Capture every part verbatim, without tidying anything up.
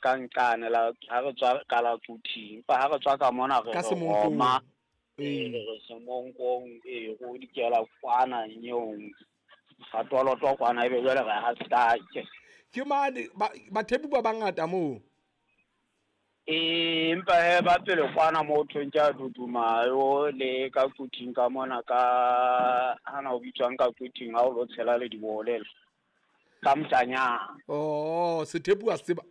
ka nqane la ha re tswa ka la Quthing. Empa ha re tswa ka mona re Ka re Semonkong. Roma. Ee. Ee, re Semonkong, ee, go dikela kwana nyong. Ga toloto kwana ebe jwale re ha stake. Ke mane ba bathepu ba bangata moo. Ee, empa he ba pele kwana mo thweng ke a Dudumayo le ka Quthing ka mona ka hana o bitswang ka Quthing ha o lo tshela le dibole. Ka Mtanyana. Oh, sethepu a se tseba.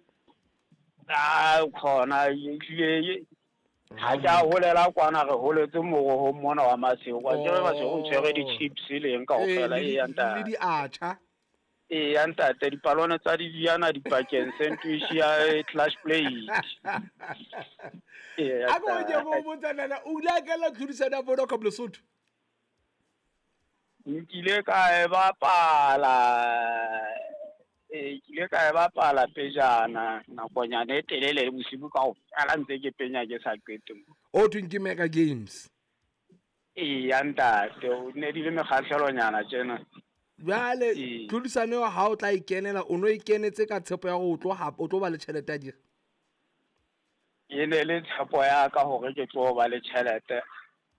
Ah, khona ehlile ha ke a holela kwana re holetse morohong mona wa Masego. Wa tseba Masego o tshwere di-chips le eng kaofela Ee, e le ya di- le ntate. diatjha. Ee, ya ntate dipalone tsa didiana dipakeng sandwich ya clash plate. Ee, ya A ko ke ntate. go botsa nana o ile a kena tlhodisano ya Vodacom Lesotho? Nkile ka e bapala ee, ke ile ka e bapala pejana nakonyana e telele le bosibu kaofela ntse ke penya ke sa qete mo. O thweng ke Mega Games. Ee, ya ntate o ne di le mekgahlelonyana tjena. Jwale Ee. tlhodisano eo ha o tla e kenela o no e kenetse ka tshepo ya hore o tlo hapa o tlo ba le tjhelete ya dira. E ne le tshepo ya ka hore ke tlo ba le tjhelete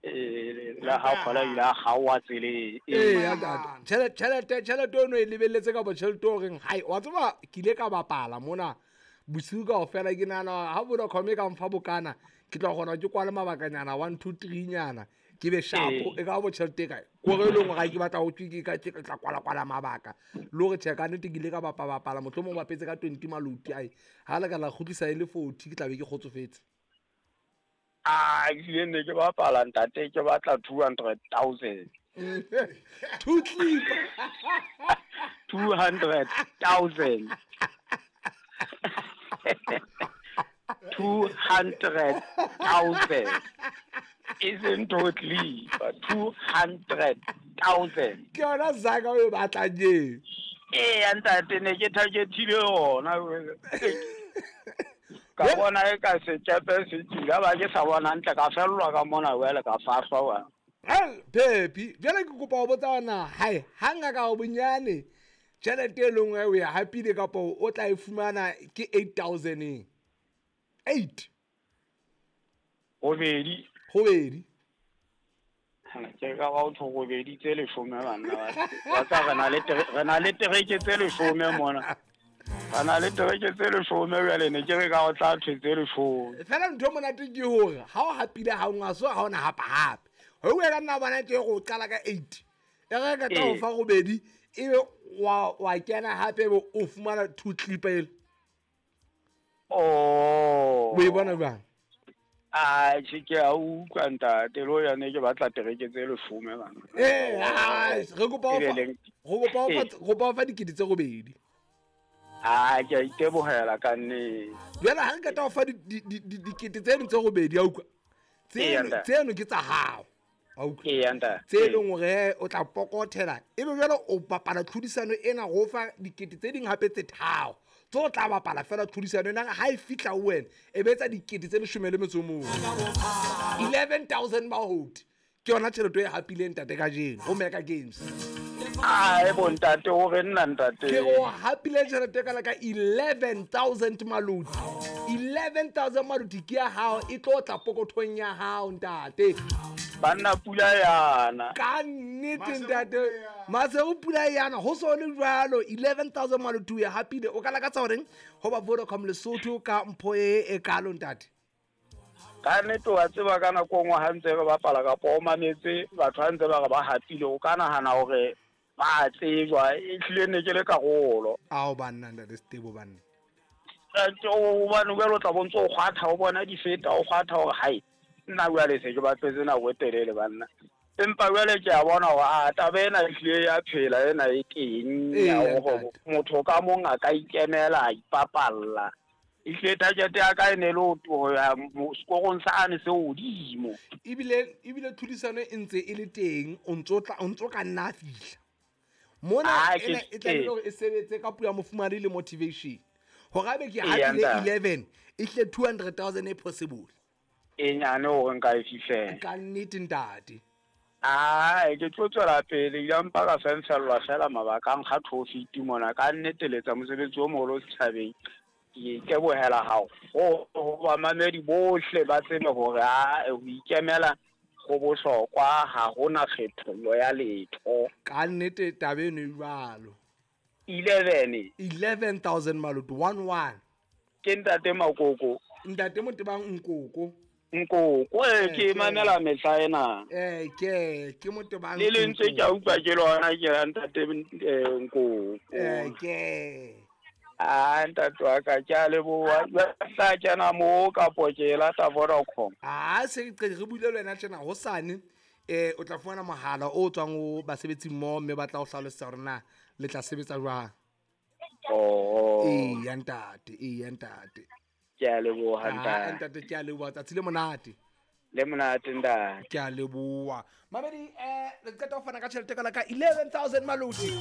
ee, le ha kgola ile a kgaoha tseleng. Ee, ya ntate. Tjhelete tjhelete tjhelete o no e lebelletse kapa tjhelete o reng hai wa tseba ke ile ka bapala mona bosiu kaofela ke nahana ha Vodacom e ka mfa bokana ke tla kgona ke kwale mabakanyana one two three nyana ke be sharp Ee. e ka bo tjhelete e kae kore e leng hore ha ke batla ho thwe ke ka ke tla kwala kwala mabaka le hore tjhe ka nnete ke ile ka bapa bapala mohlomong bapetse ka twenty maloti ai ha le ka la kgutlisa e le forty ke tla be ke kgotsofetse. Ah, ehlile ne ke bapala ntate ke batla two hundred thousand. Two clip. Two hundred thousand. Two hundred thousand. Isn't totally, but two hundred thousand. Ke yona zaka o e batlang eo. Ee, ntate ne ke targetile yona. Ka bona e ka sekepe se tswile, ba ke sa bona hantle ka fellwa ka mona jwale ka fahlwa wa. Well, Pepi, jwale ke kopa ho botsa hore hai ha nka ka o bonyane tjhelete e leng o e hapile kapa o tla e fumana ke eight thousand eng? Eight. Robedi. Robedi. Ke ka ba o tho robedi tse leshome banna ba. Wa tsa re na le tere, re na le tereke tse leshome mona. Re na le tereke tse leshome jwale ne ke re ka o tla thwe tse leshome. Fela ntho e monate ke hore ha o hapile ha o nga so ha ona hapa hape. Ho o ka nna bona ke go qala ka eight. E re ka tla o fa robedi ebe wa wa kena hape ebe o fumana two clip ele. Oh. O e bona jwang? Ah, tjhe ke a utlwa ntate le yone ke batla tereke tse leshome bana. Eh, ah, re kopa o fa, Ebe leng- re kopa o fa, Eh. re kopa o fa dikete tse robedi. Ah, ke a itebohela ka nnete. Jwale ha re qeta ho fa di, di, di, di, dikete tseno tse robedi, a utlwa. Ee, Tseno, ntate. tseno ke tsa hao. A utlwa. Ee, ntate. Tse leng hore o tla pokothela. Ebe jwale o bapala tlhodisano ena go fa dikete tse ding hape tse tharo. Tse o tla bapala fela tlhodisano ena ha e fihla ho wena e be etsa dikete tse leshome le metso o mong. eleven thousand mahodi. Ke yona tjhelete e hapileng ntate kajeno ho Mega Games. Ah, e bo ntate o re nna ntate. Ke o hapile tjhelete kana ka eleven thousand maloti. eleven thousand maloti ke ya hao e tlo tla pokothong ya hao ntate. Banna pula yana. Ka nnete ntate. Masego pula yana ho so le jwalo eleven thousand maloti o e hapile. O ka lakatsa horeng ho ba Vodacom Lesotho ka mpho e e kalo ntate? Ka nnete wa tseba ka nako e nngwe ha ntse re bapala kapa o mametse batho ha ntse ba re ba hapile o ka nahana hore ba tsejwa ehlile ne ke le karolo. Ao banna ntate Setebo banna. Ntate, hobane jwale o tla bo ntso o kgwatha o bona di feta o kgwatha hore hai nna jwale se ke batletse nako e telele banna. Empa jwale ke a bona hore a taba ena ehlile ya phela ena e teng Ee, ya hore ntate. motho ka mong a ka ikemela a ipapalla. Ehlile target ya ka e ne le ho ho ya mo-, sekorong sane se hodimo. Ebile, ebile tlhodisano e ntse e le teng, o ntso tla, o ntso ka nna fihla. Mona Ah, ena ke e tlamehile ee. hore e sebetse ka puo ya mofumahadi le motivation. Hore abe ke Ee, hapile ntate. eleven, e hle two hundred thousand e possible. E nyane hore nka e fihlela. Ka nnete ntate. Ah, ke tlo tswela pele, ya mpa ka fenfellwa fela mabaka a nkga trophy mona. Ka nnete le etsa mosebetsi o moholo setjhabeng. Ke itebohela haholo ho bamamedi bohle ba tsebe hore a ho ikemela go bohlokwa, ha hona kgethollo ya letho. Ka nnete taba eno e jwalo. Eleven. Eleven thousand maluti, one one. Ke ntate Makoko. Ntate Motebang Nkoko. Nkoko, eh, Eh, ke ke- mamela mehla ena. Eh, ke ke Motebang. Le lentswe ke a utlwa ke lona ke ra ntate, eh, Nkoko. Eh, ke. Ah, ntate wa ka, ke a leboha. Jwale tla kena moo kapo ke lata Vodacom. Ah, se ke re buile le wena tjena hosane, eh, o tla fumana mohala o tswang ho basebetsi mmoho mme ba tla o hlalosetsa hore na le tla sebetsa jwang. Oh. Eya ntate, eya ntate. Ke a leboha, Ah, ntate. ntate, ke a leboha. Tsatsi le monate. Le monate, ntate. Ke a leboha. Mamedi, eh, re qeta ho fana ka tjhelete ka la ka eleven thousand maloti.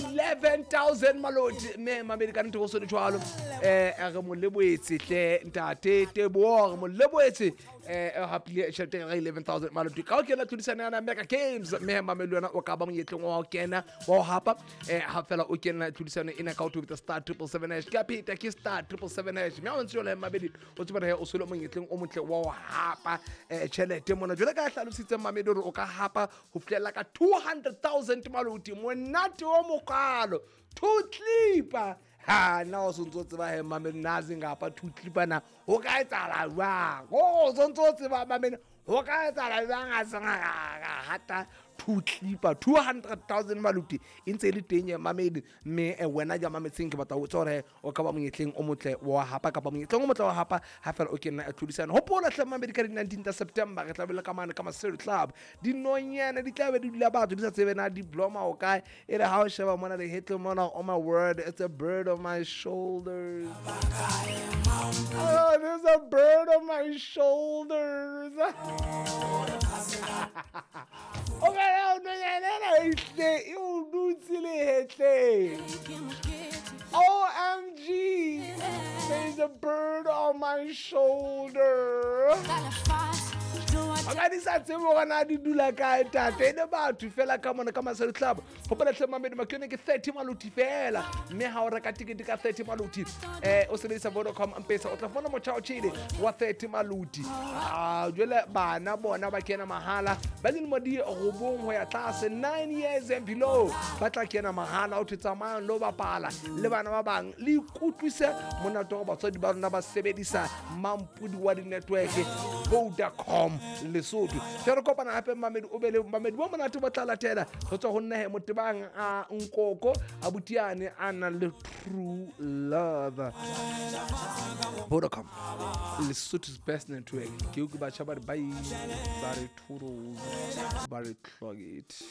eleven thousand maloti. Mme mamedi ka nnete ho so le jwalo. Eh, re mo lebohetse hle ntate Teboho, re mo lebohetse. Eh, e hapile tjhelete ka eleven thousand maloti. Ka ho kena tlhodisano ya Mega Games, mme mamedi wena o ka ba monyetleng wa ho kena, wa ho hapa. Eh, ha fela o kena tlhodisano ena ka ho tobetsa star triple seven hash. Ke a pheta, ke star triple seven hash. Mme ha o ntse jwalo, mamedi, o tsebe hore o se le monyetleng o motle wa ho hapa, eh, tjhelete mona. Jwale ka hlalositse mamedi hore o ka hapa ho fihlela ka two hundred thousand maloti. Monate o mokalo. Two clipper. Ha, nna o sontso o tseba he, mamedi, nna a seng kapa two clipper na. Ho ka etsahala jwang? O sontso o tseba, mamedi, ho ka etsahala jwang a seng a ka, ka hata two clipper, two hundred thousand maloti. E ntse e le teng ya mamedi, mme, eh, wena ja mametseng ke batla ho tseba hore o ka ba monyetleng o motle wa hapa kapa monyetleng o motle wa hapa ha fela o kena tlhodisano. Hopola hle mamedi ka di-nineteen tsa September re tla be le ka mane ka Maseru Club. Dinonyana di tla be di dula batho di sa tsebe na di bloma o kae. E re ha o sheba mona lehetleng mona, oh my word, it's a bird on my shoulders. Oh, there's a bird on my shoulders. O ka re o nonyana ena e hle, e o dutse lehetleng. O M G, there's a bird on my shoulder. O ka di sa tsebe hore na di dula kae, tate. E le batho fela ka mona ka Maseru Club. Hopola hle mamedi, Makione ke thirty maloti fela. Mme ha o reka tikete ka thirty maloti, eh, o sebedisa Vodacom M-Pesa, o tla fumana motjha o tjhele wa thirty maloti. Ah, jwale bana bona ba kena mahala. Ba dilemo di robong ho ya tlase, nine years and below, ba tla kena mahala. O thwe tsamayang lo bapala le bana ba bang, le ikutlwise monate wa batswadi ba rona ba sebedisa mampodi wa di-network Vodacom Lesotho. Ke re kopana hape mamedi, o be le mamedi bo monate bo tla latela ho tswa ho nna he Motebang a Nkoko a Butiane a nang le true love. Vodacom, Lesotho's best network. Ke utlwe batjha ba re bye, ba re toodles, ba re clog it.